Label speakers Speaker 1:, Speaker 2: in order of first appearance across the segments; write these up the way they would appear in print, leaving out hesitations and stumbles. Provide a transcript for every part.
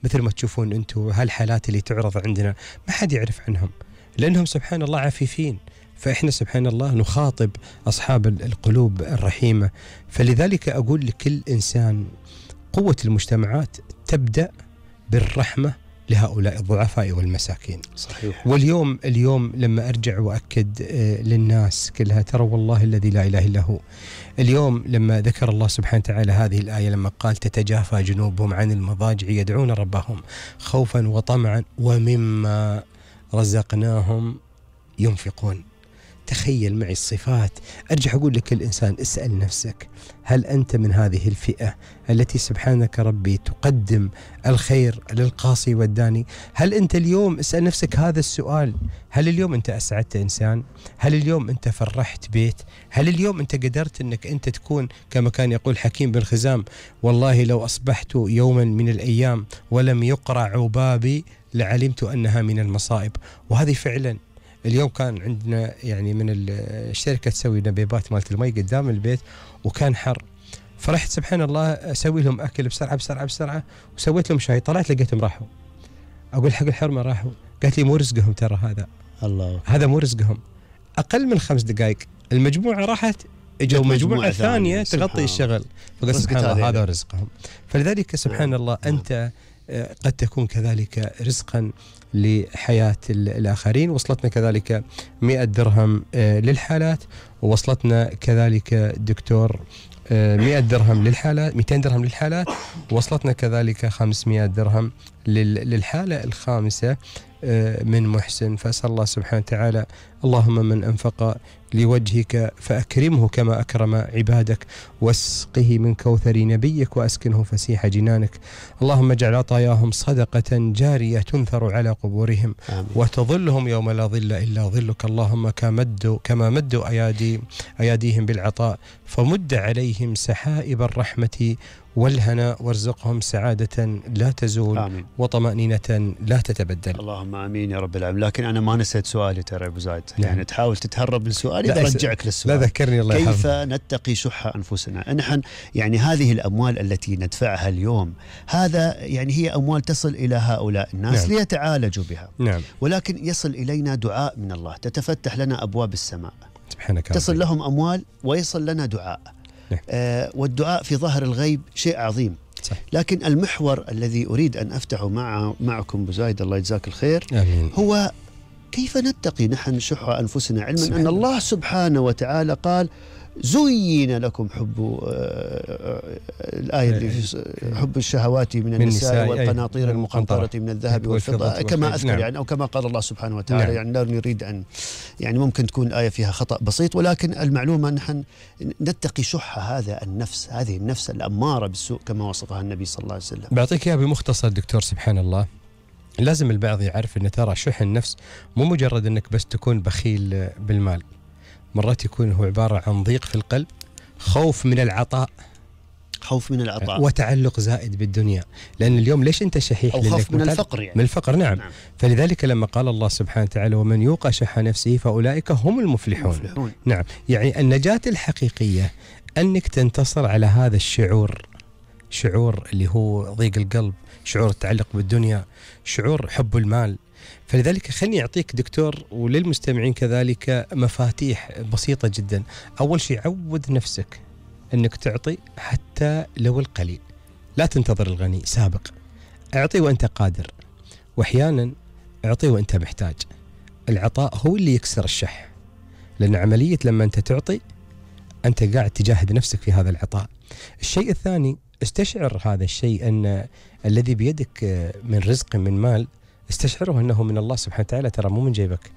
Speaker 1: مثل ما تشوفون أنتم هالحالات اللي تعرض عندنا ما حد يعرف عنهم، لأنهم سبحان الله عفيفين. فإحنا سبحان الله نخاطب أصحاب القلوب الرحيمة. فلذلك أقول لكل إنسان قوة المجتمعات تبدأ بالرحمة لهؤلاء الضعفاء والمساكين.
Speaker 2: صحيح.
Speaker 1: اليوم لما أرجع وأكد للناس كلها، ترى والله الذي لا إله إلا هو، اليوم لما ذكر الله سبحانه وتعالى هذه الآية لما قال تتجافى جنوبهم عن المضاجع يدعون ربهم خوفا وطمعا ومما رزقناهم ينفقون. تخيل معي الصفات. أرجع أقول لكل إنسان اسأل نفسك، هل أنت من هذه الفئة التي سبحانك ربي تقدم الخير للقاصي والداني؟ هل أنت اليوم اسأل نفسك هذا السؤال، هل اليوم أنت أسعدت إنسان؟ هل اليوم أنت فرحت بيت؟ هل اليوم أنت قدرت أنك أنت تكون كما كان يقول حكيم بن خزام، والله لو أصبحت يوما من الأيام ولم يقرع عبابي لعلمت أنها من المصائب. وهذه فعلا اليوم كان عندنا يعني من الشركة تسوي نبيبات مالت المي قدام البيت وكان حر، فرحت سبحان الله أسوي لهم أكل بسرعة وسويت لهم شاي، طلعت لقيتهم راحوا. أقول حق الحرمة راحوا، قالت لي مو رزقهم ترى هذا مو رزقهم. أقل من 5 دقائق المجموعة راحت، اجوا مجموعة ثانية تغطي الشغل، فقال سبحان الله هذا رزقهم. فلذلك سبحان الله أنت قد تكون كذلك رزقا لحياة الآخرين. وصلتنا كذلك 100 درهم للحالات، ووصلتنا كذلك دكتور 100 درهم للحالات، 200 درهم للحالات، ووصلتنا كذلك 500 درهم للحالة الخامسة من محسن. فأسأل الله سبحانه وتعالى اللهم من أنفق لوجهك فأكرمه كما أكرم عبادك، واسقه من كوثر نبيك وأسكنه فسيح جنانك. اللهم اجعل عطاياهم صدقة جارية تنثر على قبورهم وتظلهم يوم لا ظل إلا ظلك. اللهم كما مدوا أياديهم بالعطاء فمد عليهم سحائب الرحمة والهناء، وارزقهم سعادة لا تزول آمين. وطمأنينة لا تتبدل.
Speaker 2: اللهم آمين يا رب العالمين. لكن أنا ما نسيت سؤالي ترى أبو زايد، يعني تحاول تتهرب من سؤالي برجعك للسؤال.
Speaker 1: لا ذكرني الله يحفظك.
Speaker 2: كيف نتقي شح أنفسنا؟ نحن يعني هذه الأموال التي ندفعها اليوم هذا يعني هي أموال تصل إلى هؤلاء الناس ليتعالجوا بها، ولكن يصل إلينا دعاء من الله، تتفتح لنا أبواب السماء سبحانك، تصل لهم أموال ويصل لنا دعاء. والدعاء في ظهر الغيب شيء عظيم. صح. لكن المحور الذي أريد أن أفتحه معكم أبو زايد الله يجزاك الخير
Speaker 1: آمين.
Speaker 2: هو كيف نتقي نحن شح أنفسنا، علما أن الله سبحانه وتعالى قال زين لكم حب الآية اللي في حب الشهوات من النساء والقناطير المقنطرة من الذهب والفضة كما أذكر يعني، أو كما قال الله سبحانه وتعالى. يعني لا نريد أن يعني ممكن تكون الآية فيها خطأ بسيط، ولكن المعلومة نحن نتقي شح هذا النفس، هذه النفس الأمارة بالسوء كما وصفها النبي صلى الله عليه وسلم.
Speaker 1: بعطيك إياها بمختصر دكتور. سبحان الله لازم البعض يعرف أن ترى شح النفس مو مجرد أنك بس تكون بخيل بالمال، مرات يكون هو عبارة عن ضيق في القلب، خوف من العطاء وتعلق زائد بالدنيا. لأن اليوم ليش أنت شحيح؟
Speaker 2: أو خوف من الفقر يعني.
Speaker 1: من الفقر نعم. فلذلك لما قال الله سبحانه وتعالى ومن يوق شح نفسه فأولئك هم المفلحون. نعم، يعني النجاة الحقيقية أنك تنتصر على هذا شعور اللي هو ضيق القلب، شعور التعلق بالدنيا، شعور حب المال. فلذلك خلني أعطيك دكتور وللمستمعين كذلك مفاتيح بسيطة جدا. أول شيء عود نفسك أنك تعطي حتى لو القليل، لا تنتظر الغني، سابق، أعطي وأنت قادر، وأحيانا أعطي وأنت محتاج. العطاء هو اللي يكسر الشح، لأن عملية لما أنت تعطي أنت قاعد تجاهد نفسك في هذا العطاء. الشيء الثاني استشعر هذا الشيء أن الذي بيدك من رزق من مال استشعره أنه من الله سبحانه وتعالى، ترى مو من جيبك.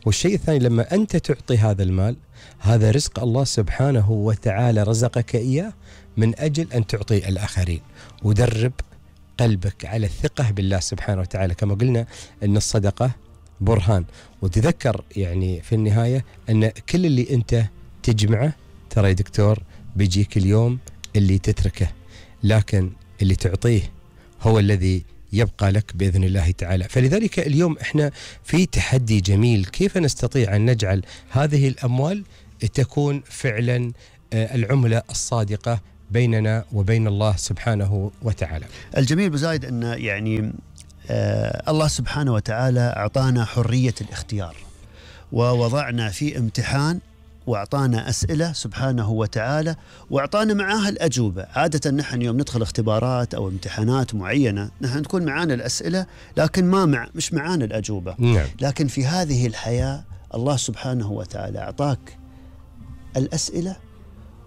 Speaker 1: والشيء الثاني لما أنت تعطي هذا المال، هذا رزق الله سبحانه وتعالى رزقك إياه من أجل أن تعطي الآخرين. ودرب قلبك على الثقة بالله سبحانه وتعالى، كما قلنا أن الصدقة برهان. وتذكر يعني في النهاية أن كل اللي أنت تجمعه ترى يا دكتور بيجيك اليوم اللي تتركه، لكن اللي تعطيه هو الذي يبقى لك بإذن الله تعالى. فلذلك اليوم احنا في تحدي جميل، كيف نستطيع أن نجعل هذه الأموال تكون فعلا العملة الصادقة بيننا وبين الله سبحانه وتعالى.
Speaker 2: الجميل بزايد أن يعني الله سبحانه وتعالى أعطانا حرية الاختيار، ووضعنا في امتحان وأعطانا أسئلة سبحانه وتعالى، وأعطانا معاها الأجوبة. عادة نحن يوم ندخل اختبارات أو امتحانات معينة نحن نكون معانا الأسئلة لكن مش معانا الأجوبة.
Speaker 1: نعم.
Speaker 2: لكن في هذه الحياة الله سبحانه وتعالى أعطاك الأسئلة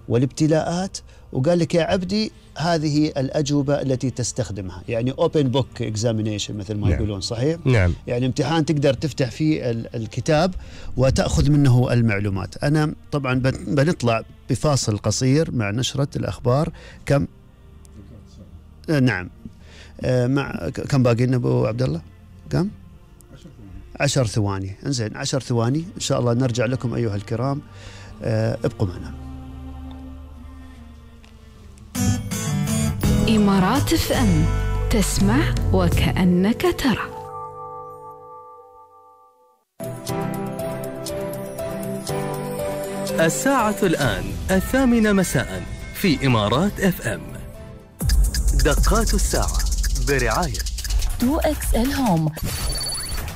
Speaker 2: والابتلاءات وقال لك يا عبدي هذه الأجوبة التي تستخدمها، يعني open book examination مثل ما يقولون. صحيح؟
Speaker 1: نعم.
Speaker 2: يعني امتحان تقدر تفتح فيه الكتاب وتأخذ منه المعلومات. أنا طبعا بنطلع بفاصل قصير مع نشرة الأخبار. كم؟ نعم. كم باقي لنا أبو عبد الله؟ كم؟ 10 ثواني. انزين 10 ثواني إن شاء الله نرجع لكم أيها الكرام. ابقوا معنا.
Speaker 3: إمارات FM، تسمع وكأنك ترى.
Speaker 4: الساعة الآن 8 مساء في إمارات FM. دقات الساعة برعاية
Speaker 5: 2XL Home.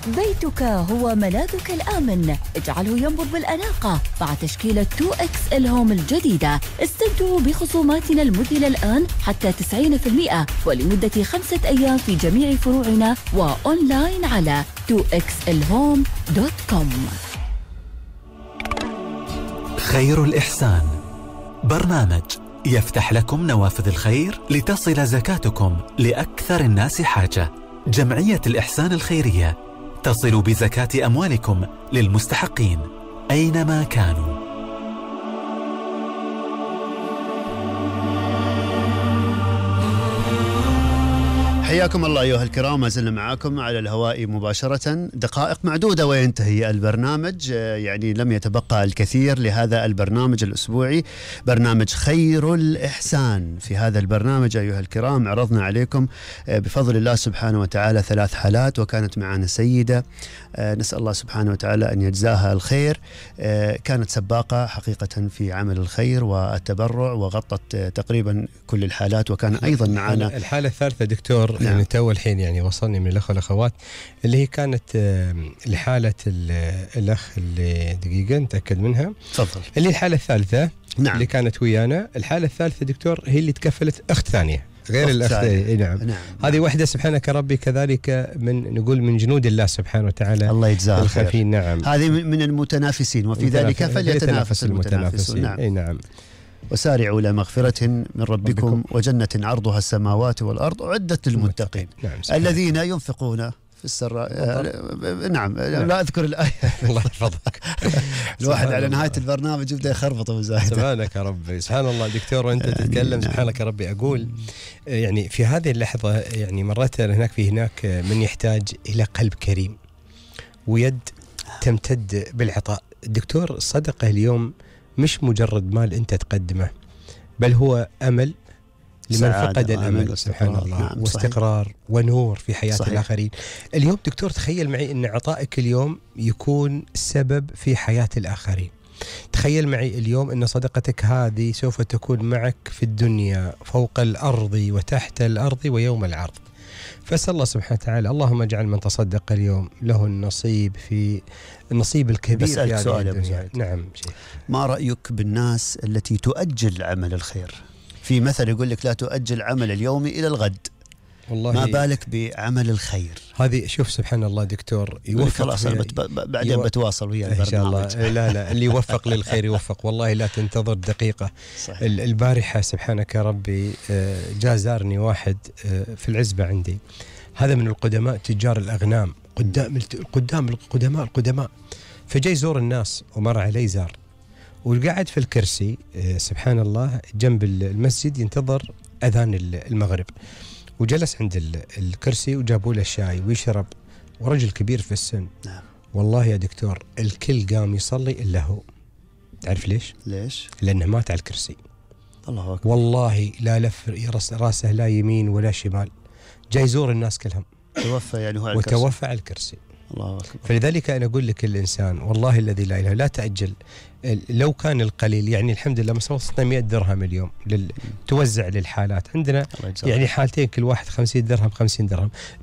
Speaker 5: بيتك هو ملاذك الآمن، اجعله ينبض بالأناقة مع تشكيلة 2XL Home الجديدة. استمتعوا بخصوماتنا المذهلة الآن حتى 90% ولمدة 5 أيام في جميع فروعنا وأونلاين على 2xlhome.com.
Speaker 6: خير الإحسان، برنامج يفتح لكم نوافذ الخير لتصل زكاتكم لأكثر الناس حاجة. جمعية الإحسان الخيرية تصل بزكاة أموالكم للمستحقين أينما كانوا.
Speaker 2: حياكم الله أيها الكرام، ما زلنا معاكم على الهواء مباشرة. دقائق معدودة وينتهي البرنامج، يعني لم يتبقى الكثير لهذا البرنامج الأسبوعي، برنامج خير الإحسان. في هذا البرنامج أيها الكرام عرضنا عليكم بفضل الله سبحانه وتعالى 3 حالات، وكانت معنا سيدة نسأل الله سبحانه وتعالى أن يجزاها الخير. كانت سباقة حقيقة في عمل الخير والتبرع، وغطت تقريبا كل الحالات. وكان أيضا معنا
Speaker 1: الحالة الثالثة دكتور. نعم. يعني تو الحين يعني وصلني من الأخوة والأخوات اللي هي كانت لحالة الأخ اللي دقيقة نتأكد منها.
Speaker 2: تفضل.
Speaker 1: اللي الحالة الثالثة.
Speaker 2: نعم.
Speaker 1: اللي كانت ويانا. الحالة الثالثة دكتور هي اللي تكفلت أخت ثانية غير الأخت. نعم. هذه واحدة سبحانك ربي كذلك نقول من جنود الله سبحانه وتعالى.
Speaker 2: الله يجزاه الخير.
Speaker 1: نعم.
Speaker 2: هذه من المتنافسين، وفي ذلك فليتنافس المتنافسون. نعم. وسارعوا إلى مغفرة من ربكم وجنة عرضها السماوات والأرض أعدت للمتقين.
Speaker 1: نعم.
Speaker 2: الذين ينفقون في السراء. نعم. لا أذكر الآية.
Speaker 1: الله يحفظك.
Speaker 2: الواحد على نهاية البرنامج يبدأ يخربط وزايد.
Speaker 1: سبحانك ربي. سبحان الله دكتور وأنت تتكلم. سبحانك ربي. أقول يعني في هذه اللحظة يعني مرات هناك من يحتاج إلى قلب كريم ويد تمتد بالعطاء. الدكتور الصدقة اليوم مش مجرد مال أنت تقدمه، بل هو أمل لمن فقد الأمل. سبحان الله. نعم. واستقرار ونور في حياة صحيح. الآخرين. اليوم دكتور تخيل معي أن عطائك اليوم يكون سبب في حياة الآخرين. تخيل معي اليوم أن صدقتك هذه سوف تكون معك في الدنيا فوق الأرض وتحت الأرض ويوم العرض. فأسأل الله سبحانه وتعالى اللهم اجعل من تصدق اليوم له النصيب في النصيب الكبير في هذه الدنيا. نعم.
Speaker 2: ما رأيك بالناس التي تؤجل عمل الخير؟ في مثل يقول لك لا تؤجل عمل اليوم إلى الغد. والله ما بالك بعمل الخير.
Speaker 1: هذه شوف سبحان الله دكتور يوفق.
Speaker 2: خلاص بعدين بتواصل ويا البرنامج
Speaker 1: إن شاء الله. لا اللي يوفق للخير يوفق، والله لا تنتظر دقيقة. صحيح. البارحة سبحانك ربي جاء زارني واحد في العزبة عندي، هذا من القدماء تجار الأغنام، القدماء. فجاي يزور الناس ومر علي زار وقعد في الكرسي سبحان الله جنب المسجد ينتظر أذان المغرب، وجلس عند الكرسي وجابوا له الشاي ويشرب، ورجل كبير في السن.
Speaker 2: نعم.
Speaker 1: والله يا دكتور الكل قام يصلي إلا هو. تعرف ليش؟ لأنه مات على الكرسي.
Speaker 2: الله أكبر.
Speaker 1: والله لا لف راسه لا يمين ولا شمال، جاي يزور الناس كلهم.
Speaker 2: توفى يعني هو على
Speaker 1: الكرسي. وتوفى على الكرسي.
Speaker 2: الله أكبر.
Speaker 1: فلذلك أنا أقول لك الإنسان والله الذي لا إله لا تأجل. لو كان القليل يعني الحمد لله وصلنا 100 درهم اليوم توزع للحالات عندنا، يعني حالتين كل واحد 50 درهم 50 درهم. لا